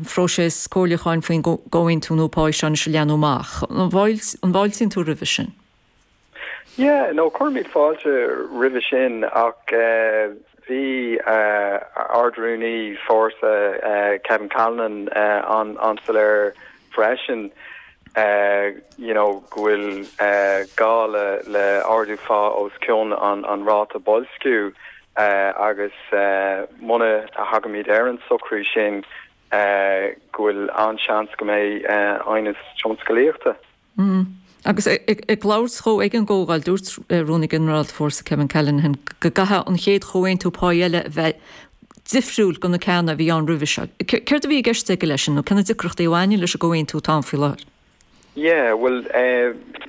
Phróiseas comhairliúcháin faoin gcomhaontú nua páí seo anois a leathnú amach. An bhfáiltíonn tú roimhe sin? Yeah, no, cuirimid fáilte roimhe sin ach bhí Ard-Rúnaí Fórsa Kevin Callinan an-soiléir freisin you know go bhfuil gá le ardú phá os cionn an ráta boilsciú agus muna thagaimid ar an socrú sin go bhfuil an-seans go mbeidh aighneas tionscalaíochta. Agus ag labhairt dhó ag an gcomhdháil, dúirt Rúnaí Ginearálta Fórsa Kevin Callinan go gcaithfidh an chéad chomhaontú páí eile a bheith difriúil go na ceanna a bhí ann roimhe seo. Céard a bhí i gceist aige leis sin nó cé na deacrachtaí a bhaineann leis an gcomhaontú atá ann faoi láthair? Yeah, bhuel,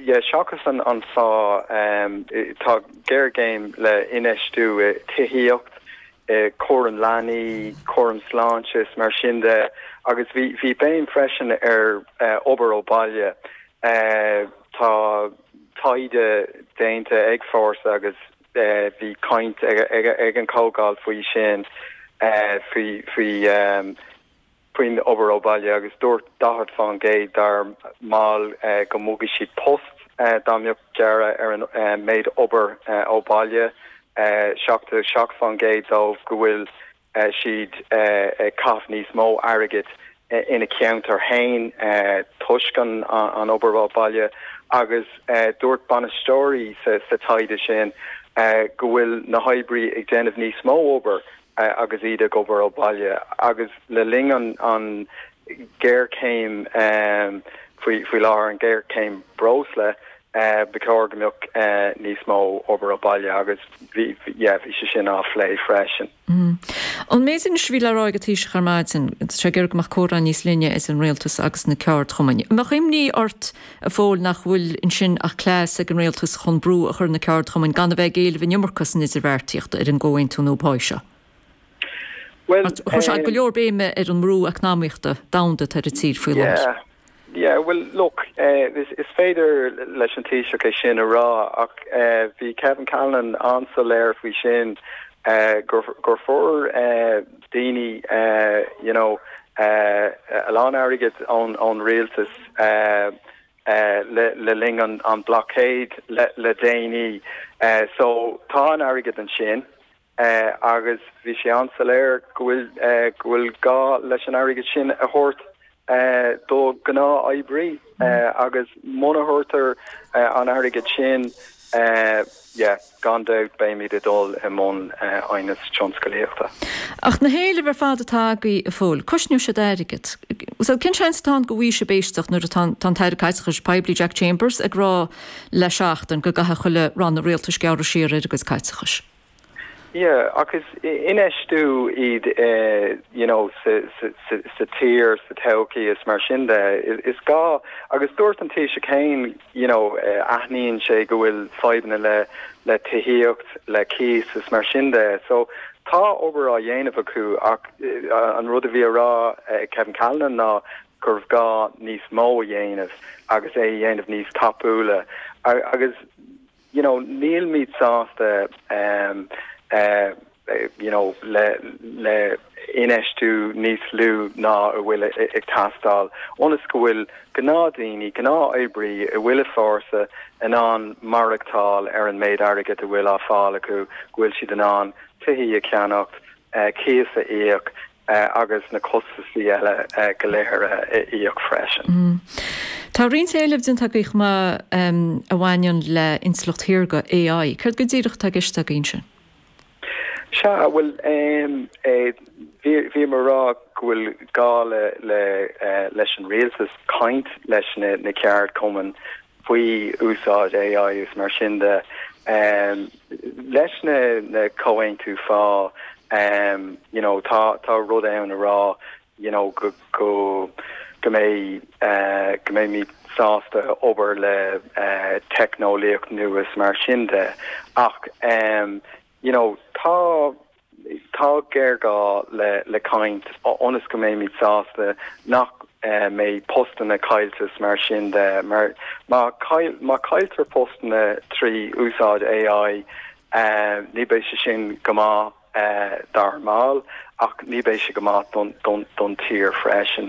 yeah, seachas an phá, tá géarchéim le infheistiú i tithíocht, i cúram leanaí, cúram sláinte is mar sin de agus bhí bhí béim freisin ar obair ó bhaile. Tá taighde déanta ag Fórsa agus bhí caint ag an chomhdháil faoi sin, faoi faoi faoin obair ó bhaile agus dúirt 40% dár mbaill go mbogfaidh siad post dá mbeadh gearradh ar an méid obair ó bhaile. 77% dóibh go bhfuil siad ag caitheamh níos mó airgid ina ceantar féin toisc an obair ó bhaile agus dúirt bainisteoirí sa taighde sin go bhfuil na hoibrí ag déanamh níos mó obair agus iad ag obair ó bhaile agus le linn an ghéarchéim faoi láthair, an ghéarchéim breosla, ba chóir go mbeadh níos mó obair ó bhaile agus bhí, yeah, bhí sé sin á phlé freisin. An méid anois a bhí le rá ag an Taoiseach ar maidin, tá sé ag iarraidh go mbeadh comhrá níos linne idir an Rialtas agus na ceardchumainn. An mbeadh imní ort, a Phóil, nach bhfuil ansin ach cleas ag an Rialtas chun brú a chur ar na ceardchumainn gan a bheith ag éileamh an iomarca san idirbheartaíocht ar an gcomhaontú nua páí seo? Bhuel, Chuir sé go leor béime ar an mbrú eacnamaíochta domhanda atá ar an tír faoi láthair. Yeah. Yeah, bhuel, look, is féidir leis an Taoiseach é sin a rá ach bhí Kevin Callinan an-soiléir faoi sin gur gur fuair daoine you know a lán airgid ón ón rialtas le le linn an an blockade le le déanaí. So tá an airgead ansin. agus bhí sé an-soiléir go bhfuil go bhfuil gá leis an airgead sin a thabhairt do ghnáth-oibrí agus muna thabhartar an airgead sin, yeah, gan dabht beimid ag dul i mbun aighneas tionscalaíochta. Ach na héilimh ar fad atá agaibh, a Phóil, cosnóidh siad airgead. So cén seans atá ann go bhfaighidh sibh éisteacht nuair atá an tAire Caiteachais Poiblí Jack Chambers ag rá le seachtain go gcaithfidh chuile ranna rialtais gearradh siar ar a gcuid caiteachais? Yeah, ach is infheistiú iad you know sa sa sa tír, sa todhchaí is mar sin de. Is gá, agus dúirt an Taoiseach féin you know aithníonn sé go bhfuil fadhbanna le le tithíocht, le cíos is mar sin de. So tá obair á dhéanamh acu ach an rud a bhí á rá ag Kevin Callinan ná gurbh gá níos mó a dhéanamh agus é a dhéanamh níos tapúla agus you know nílimid sásta um uh you know le le infheistiú níos lú ná a bhfuil ag teastáil ionas go bhfuil gnáthdhaoine, gnáthoibrí a bhfuil i Fórsa in ann maireachtáil ar an méid airgid a bhfuil á fáil acu, go bhfuil siad in ann tithí a cheannacht, cíos a íoc agus na costasaí eile go léir a íoc freisin. Tá roinnt éileamh déanta agaibh chomh maith a bhaineann le intleacht shaorga, AI. Céard go díreach atá i gceist agaibh ansin? Sea, bhuel, bhíomar ag rá go bhfuil gá leis an rialtas caint leis na ceardchumainn faoi úsáid AI is mar sin de. Leis na comhaontú phá, you know, tá tá rud ann a rá, you know, go go go mbeidh go mbeimid sásta obair le teicneolaíocht nua is mar sin de ach, you know, tá Tá géarghá le caint ionas go mbeimid sásta nach mbeidh postanna caillte is mar sin de, mar má chailltear postanna trí úsáid AI ní beidh sé sin go maith. maith dár mbaill ach ní bheidh sé go maith don tír freisin.